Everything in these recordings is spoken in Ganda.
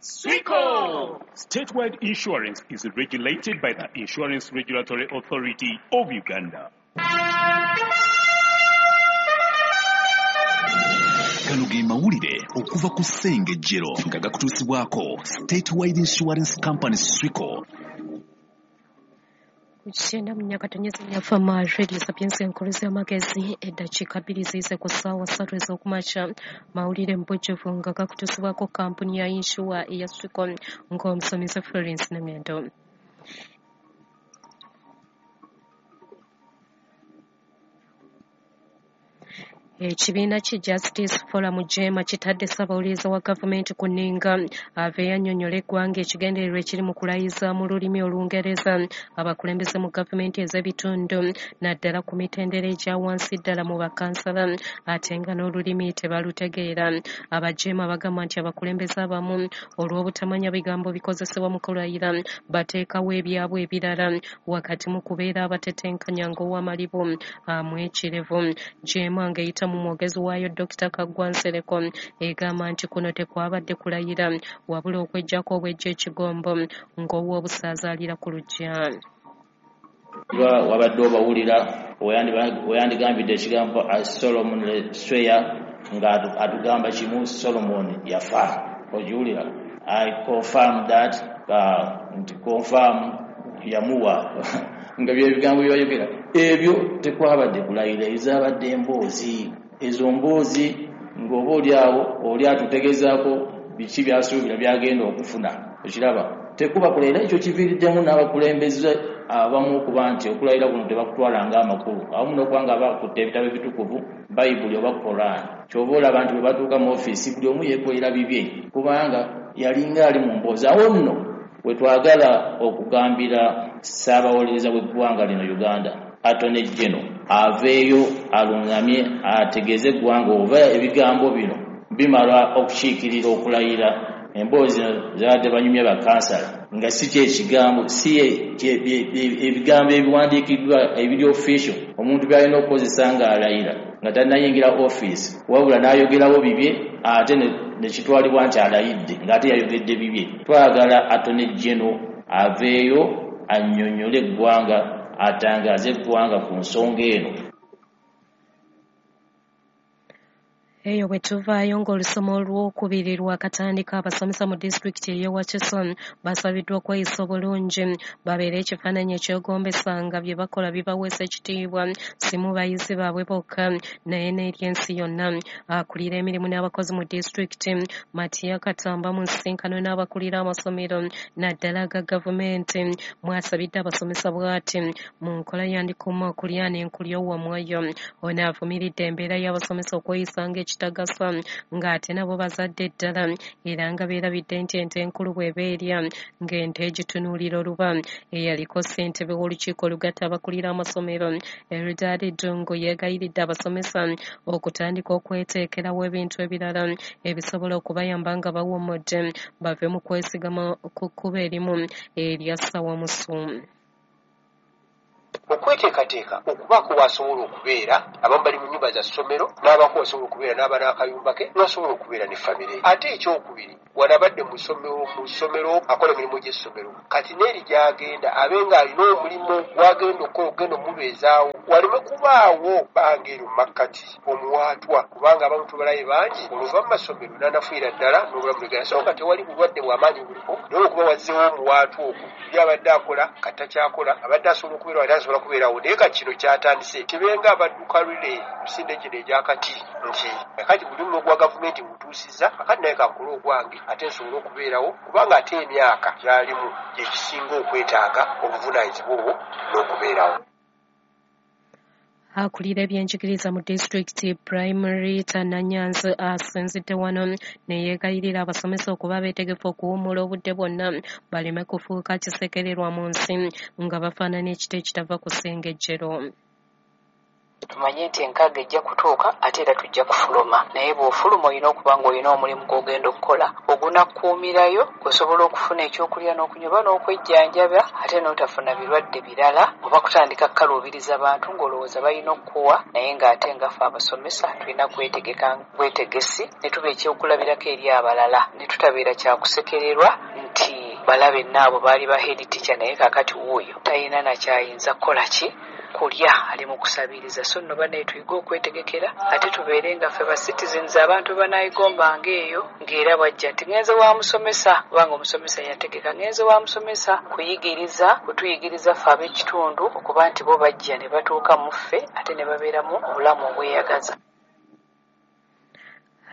Swico! Statewide Insurance is regulated by the Insurance Regulatory Authority of Uganda. Gano ge mawulire okuva ku Ssengejjero nga gakutuusibwako Statewide Insurance Company Swico. 94.4 Fama Radio Sapienza enkulu z'amagezi, eddakiika 2 ziyise ku ssaawa 3 ez'okumakya. Mawulire mu bujjuvu nga gakutuusibwako kampuni ya yinsuwa eya Swico ng'omusomesa Florence Namyando. Ekibiina ki Justice Forum JEEMA kitadde ssaabawuliriza wa gavumenti ku nninga aveeyo annyonnyola eggwanga ekigendererwa ekiri mu kulayiza mu lulimi Olungereza abakulembeze mu gavumenti ez'ebitundu naddala ku mitendera egya wansi ddala mu bakansala ate nga n'olulimi tebalutegeera. Aba JEEMA bagamba nti abakulembeze abamu olw'obutamanya bigambo bikozesebwa mu kulayira bateekawo ebyabwe ebirala wakati mu kubeera abatetenkanya ng'owamalibu amwekirevu. JEEMA ng'eyita mu mwogezi waayo Dr. Kaggwa Nsereko egamba nti kuno tekwabadde kulayira wabula okweggyako obwejja ekigombo ng'ow'obusaaza alira ku luggya. Wabadde obawulira weyandigambidde ekigambo Solomon swear nga atugamba kimu, Solomon yafa. Ogiwulira? I confirm that, nti confirm yamuwa nga byebigambo byebayogera. Ebyo tekwabadde kulayira, ezabadde emboozi. Ezo mboozi ng'oba oli awo oli atutegezaako biki byasuubira byagenda okufuna. Okiraba, tekuba kulayira. Ekyo kiviiriddemu n'abakulembeze abamu okuba nti okulayira kuno tebakutwala ng'amakulu, awamu n'okuba nga bakutte ebitabo ebitukuvu, Bayibuli oba Koran. Ky'oba olaba nti bwe batuuka mu ofiisi buli omu yeekolera bibye, kubanga yalinga ali mu mboozi. Awo nno we twagala okugambira ssaabawolereza w'eggwanga lino Uganda, Attorney General, aveeyo alungamye ategeeze eggwanga oba ebigambo bino bimala okukiikirira okulayira. Emboozi zabadde banyumya bakansala nga si kyekigambo, si ebigambo ebiwandiikiddwa ebiri official omuntu by'alina okukozesa ng'alayira nga tannayingira ofiisi, wabula n'ayogerawo bibye ate ne kitwalibwa nti alayidde ng'ate yayogedde bibye. Twagala Attorney General aveeyo annyonnyole eggwanga, atangaaze eggwanga ku nsonga eno. Eyo bwe tuvaayo ng'olusoma olwokubiri lwakatandika, abasomesa mu disitulikiti ey'e Wakiso basabiddwa okweyisa obulungi babeere ekifaananyi ekyegombesa nga bye bakola bibaweesa ekitiibwa si mu bayizi baabwe bokka naye n'eri ensi yonna. Akulira emirimu n'abakozi mu disitulikiti Matia Katamba mu nsisinkano n'abakulira amasomero naddala aga gavumenti mwasabidde abasomesa bw'ati mu nkola yandikuma okulya n'enkulya owomwoyo. Ono avumiridde embeera y'abasomesa okweyisa ng'ekitagasa ng'ate nabo bazadde ddala era nga beerabidde nti ente enkulu bw'eba erya ng'ente egitunuulira oluba. Eyaliko ssentebe w'olukiiko olugatta abakulira amasomero Eldad Ddungu yeegayiridde abasomesa okutandika okweteekerawo ebintu ebirala ebisobola okubayamba nga bawummudde bave mu kwesigama ku kkubo erimu erya ssawamusu. Okweteekateeka okubaako w'asobola okubeera, abamu bali mu nnyumba za ssomero, n'abaako wasobola okubeera n'aba n'akayumba ke, n'asobola okubeera ne famire. Ate ekyokubiri, wano abadde mu ssomero akola emirimu gy'essomero, kati n'eri gy'agenda abe ng'alina omulimu gw'agenda okukola okugenda omubeezaawo, waleme kubaawo bbanga eryo mu makkati omuwaatwa, kubanga abamu tubalaye bangi oluva mu masomero n'anafuira ddala n'obulamu bwegana. So nga tewali bulwadde bw'amaanyi buliko, naye okuba wazzeewo omuwaatwa ogwo, buli abadde akola kati takyakola, abadde asobola okubeera ate asobola kubeerawo. Naye kati kino kyatandise kibenga abadduka lule misinde gino egyakati nti kati buli mulimu gwa gavumenti ngutuusizza, akati naye kankole ogwange ate nsobole okubeerawo, kubanga ate emyaka gy'alimu gye gisinga okwetaaga obuvunaanyizibwa obwo n'okubeerawo. Akulira ebyenjigiriza mu disitulikiti Primary Tananyanzi asinzidde wano ne yeegayirira abasomesa okuba abeetegefu okuwummula obudde bwonna baleme kufuuka kisekererwa mu nsi nga bafaanana ekiti ekitava ku ssengejjero. Tumanye nti enkaaga ejja kutuuka ate era tujja kufuluma, naye bw'ofuluma olina okuba ng'olina omulimu gw'ogenda okukola Ogunakuumirayo osobola okufuna ekyokulya n'okunywa n'okwejjanjaba, ate n'otafuna birwadde birala oba kutandika kukaluubiriza bantu ng'olowooza balina okukuwa, naye ng'ate nga ffe abasomesa tulina kwetegeka bwetegesi ne tuba ekyokulabirako eri abalala, ne tutabeera kyakusekererwa nti balabe nnaabo baali ba head teacher naye kaakati wuuyo talina nakyayinza kukola ki kulya, ali mu kusabiriza. So nno bannaye tuyige okwetegekera, ate tubeere nga ffe ba citizens abantu banaayigombanga eyo ng'era bwajja nti ngenze wa musomesa, kubanga omusomesa yategeka ngenze wa musomesa kuyigiriza, kutuyigiriza ffe ab'ekitundu okuba nti bo bajja ne batuuka mu ffe ate ne babeeramu obulamu obweyagaza.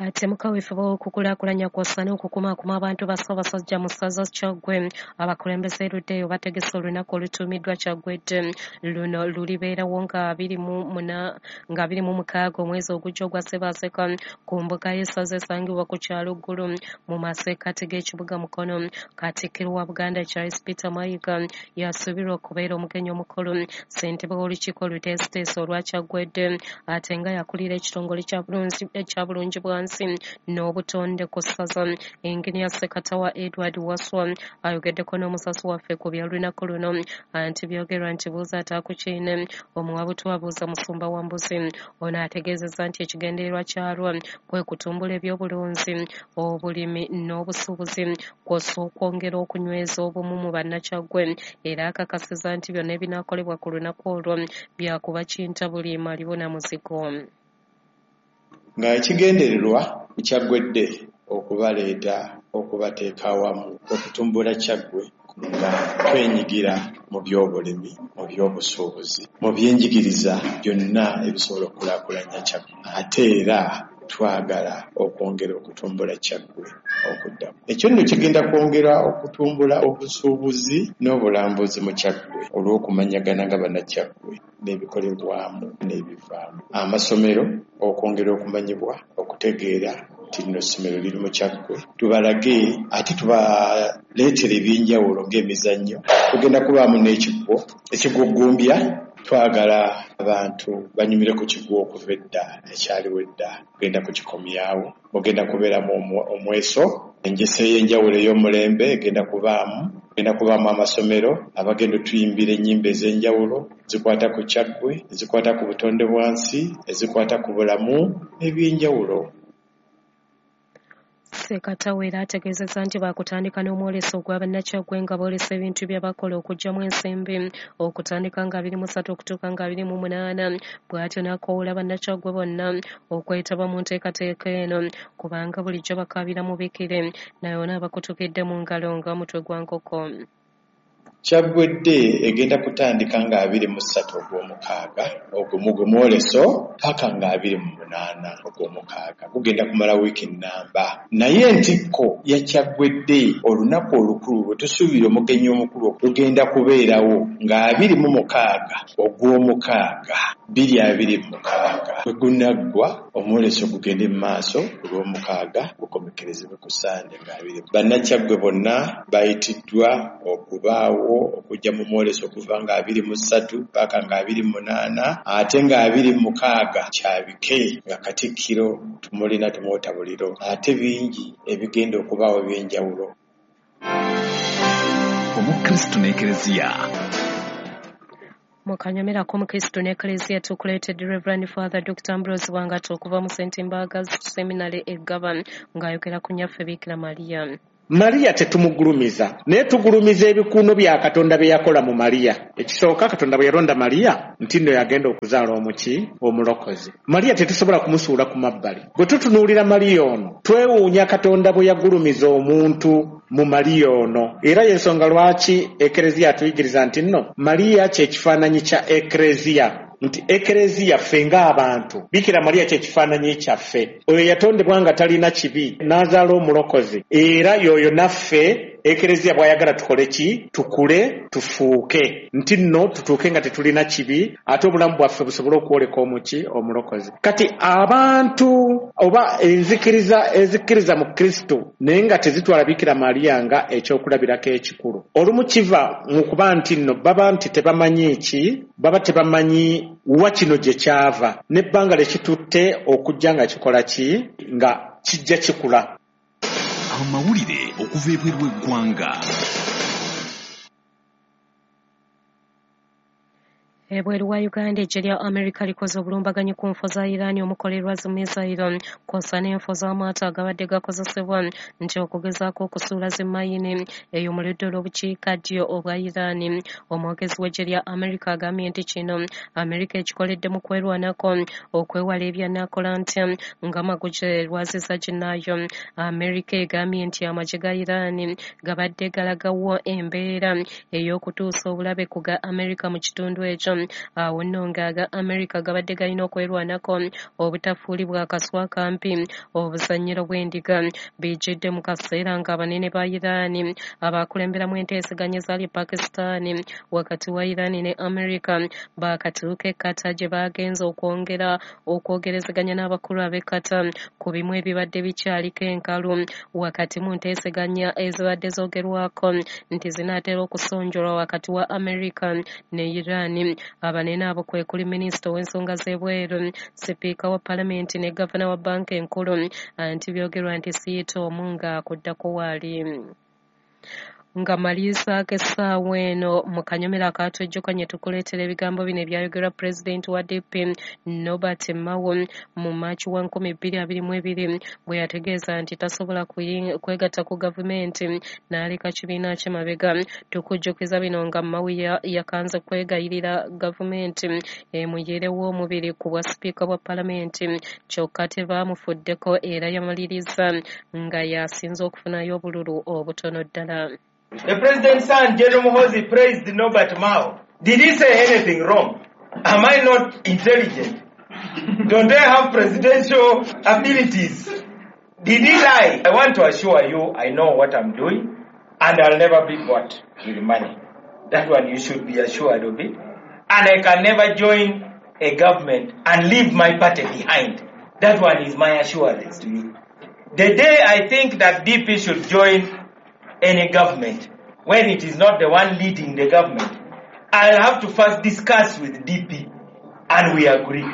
Ate mukaweefube w'okukulaakulanya kw'ossa n'okukumaakuma abantu ba Ssaabasajja mu ssaza Kyaggwe, abakulembeze erudda eyo bategese olunaku olutuumiddwa Kyaggwe Day. Luno lulibeerawo nga 26 omwezi ogujja ogwa Ssebaaseka ku mbuga y'essaza esangibwa ku kyalo Ggulu mu masekkati g'ekibuga Mukono. Katikkiro wa Buganda Charles Peter Mayiga yasuubirwa okubeera omugenyi omukulu. Ssentebe w'olukiiko oluteesiteesi olwa Kyaggwe Day ate nga yakulira ekitongole kya Bulungibwansi n'obutonde ku ssaza, Engineer Ssekatawa Edward Waswa ayogeddeko n'omusasi waffe ku by'olunaku luno. Anti byogerwa nti buuza ataakukiine, omuwabutu abuuza musumba wa mbuzi. Ono ategeezezza nti ekigendererwa kyalwo kwe kutumbula ebyobulunzi, obulimi n'obusuubuzi, kw'ossa okwongera okunyweza obumu mu bannakyaggwe. Era akakasizza nti byonna ebinaakolebwa ku lunaku olwo byakuba kintabuli malibu na muzigo. Nga ekigendererwa ku Kyaggwe Day okubaleeta okubateeka awamu okutumbula Kyaggwe nga twenyigira mu byobulimi, mu byobusuubuzi, mu byenjigiriza byonna ebisobola okukulaakulanya Kyaggwe. Ate era twagala okwongera okutumbula Kyaggwe okuddamu. Ekyo nno kigenda kwongera okutumbula obusuubuzi n'obulambuzi mu Kyaggwe olw'okumanyagana nga bannakyaggwe n'ebikolebwamu n'ebivaamu. Amasomero okwongera okumanyibwa, okutegeera nti lino essomero liri mu Kyaggwe, tubalage ate tubaleetere ebyenjawulo ng'emizannyo. Tugenda kubaamu n'ekigwo, ekigwo ggumbya. Twagala abantu banyumire ku kigwo okuva edda, ekyaliwo edda, tugenda kukikomyawo. Mugenda kubeeramu omweso, enjesa ey'enjawulo ey'omulembe egenda kubaamu, genda kubaamu amasomero abagenda otuyimbira ennyimba ez'enjawulo zikwata ku Kyaggwe, ezikwata ku butonde bwansi, ezikwata ku bulamu n'ebyenjawulo. Ssekatawa era ategeezezza nti baakutandika n'omwoleso ogwa bannakyaggwe nga boolesa ebintu bye bakola okuggyamu ensimbi okutandika nga 23 okutuuka nga 28. Bw'atyo n'akoowoola bannakyaggwe bonna okwetaba mu nteekateeka eno kubanga bulijjo bakaabira mubikire, naye ono abakutukidde mu ngalo nga mutwe gwa nkoko. Kyaggwe Day egenda kutandika nga 23 ogw'omukaaga ogwo mugwe mwoleso paka nga 28 ogw'omukaaga, gugenda kumala wiiki nnamba. Naye entikko ya Kyaggwe Day, olunaku olukulu lwe tusuubira omugenyi omukulu lugenda kubeerawo nga 26 ogw'omukaaga 2026 bwe gunaggwa, omwoleso gugende mu maaso ku lw'omukaaga gukomekkerezebwe ku Ssande nga 20. Bannakyaggwe bonna bayitiddwa okubaawo okujja mu mwoleso okuva nga 23 paka nga 28, ate nga 26 kyabike nga Katikkiro tumulina tumwota buliro, ate bingi ebigenda okubaawo ebyenjawulo. Omukristu n'Ekereziya. Mu kanyomero k'Omukristu n'Ekereziya tukuleetedde Reverend Father Dr. Ambrose Bwangata okuva mu St. Mbaga Seminary e Ggaba ng'ayogera ku nnyaffe Bikira Maria. Maria tetumugulumiza, naye tugulumiza ebikuuno bya Katonda bye yakola mu Maria. Ekisooka, Katonda bwe yalonda Maria nti nno yagenda okuzaala omuki omulokozi. Maria tetusobola kumusuula ku mabbali. Bwe tutunuulira Maria ono, twewuunya Katonda bwe yagulumiza omuntu mu Maria ono. Era y'ensonga lwaki Ekereziya atuyigiriza nti nno Maria kye kifaananyi kya Ekereziya. Nti Ekereziya ffe ng'abantu, Bikira Maria kye kifaananyi kyaffe. Oyo yatondebwa nga talina kibi, n'azaala omulokozi. Era y'oyo naffe Ekereziya bw'ayagala tukole ki? Tukule, tufuuke. Nti nno tutuuke nga tetulina kibi, ate obulamu bwaffe busobole okwoleka omuki omulokozi. Kati abantu oba enzikiriza ezikkiriza mu Kristo naye nga tezitwala Bikira Maria nga ekyokulabirako ekikulu. Olumu kiva mu kuba nti nno baba nti tebamanyi ki, baba tebamanyi wa kino gye kyava, n'ebbanga lye kitutte okujja nga kikola ki, nga kijja kikula. Amawulire okuva ebweru w'eggwanga. Ebweru wa Uganda, eggye lya Amerika likoze obulumbaganyi ku nfo za Iran omukolerwa zi missile kw'ossa n'enfo z'amaato agabadde gakozesebwa nti okugezaako okusuula zi mayini eyo mu ludda olw'obukiikaddyo obwa Iran. Omwogezi w'eggye lya Amerika agambye nti kino Amerika ekikoledde mu kwerwanako okwewala ebyanaakola ntya nga maguje lwaziza ginnaayo. Amerika egambye nti amagye ga Iran gabadde galagawo embeera ey'okutuusa obulabe ku ga Amerika mu kitundu ekyo. Awo nno ng'aga Amerika gabadde galina okwerwanako obutafuulibwa akaswa akampi obuzannyiro bw'endiga. Bijjidde mu kaseera ng'abanene ba Iran abakulemberamu enteeseganya ezaali e Pakistan wakati wa Iran ne Amerika baakatuuka e Qatar gye bagenze okwongera okwogerezeganya n'abakulu ab'e Qatar ku bimu ebibadde bikyaliko enkalu wakati mu nteeseganya ezibadde zoogerwako nti zinaatera okusonjolwa wakati wa Amerika ne Iran. Abanene abo kwe kuli minisita ow'ensonga z'ebweru, sipiika wa palamenti ne gavana wa bbanka enkulu, anti byogerwa nti siyita omu ng'akuddako waali. Nga malirizaako essaawa eno mu kanyomero akatwejjukanye tukuleetera ebigambo bino ebyayogerwa pulezidenti wa DP Norbert Mao mu Maaci wa 2022 bwe yategeeza nti tasobola kwegatta ku gavumenti n'aleka kibiina kye mabega. Tukujjukiza bino nga Mao yakanze kwegayirira gavumenti emuyirewo omubiri ku bwa sipiika bwa palamenti, kyokka tebaamufuddeko era yamaliriza nga yasinze okufunayo obululu obutono ddala. The president's son, General Muhoozi, praised Norbert Mao. Did he say anything wrong? Am I not intelligent? Don't I have presidential abilities? Did he lie? I want to assure you, I know what I'm doing, and I'll never be bought with money. That one you should be assured of it. And I can never join a government and leave my party behind. That one is my assurance to you. The day I think that DP should join any government, when it is not the one leading the government, I'll have to first discuss with DP, and we agree.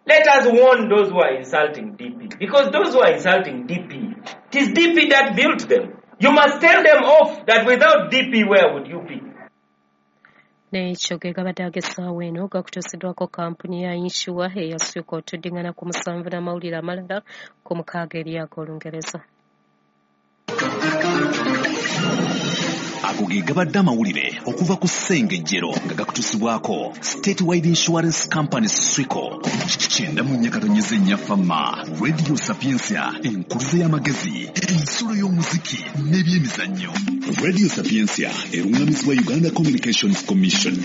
Let us warn those who are insulting DP, because those who are insulting DP, it is DP that built them. You must tell them off that without DP, where would you be? N'ekyo ge gabadde ag'essaawa eno gakutuusiddwako kampuni ya yinsuwa eya Swico. Tuddingana ku 7 n'amawulire amalala ku 6 eri ag'Olungereza. Ago ge gabadde amawulire okuva ku Ssengejjero nga gakutuusibwako Statewide Insurance Company Swico. 94.4 Fama Radio Sapientia, enkuluze y'amagezi, ensulo y'omuziki n'ebyemizannyo. Radio Sapientia erungamizibwa Uganda Communications Commission.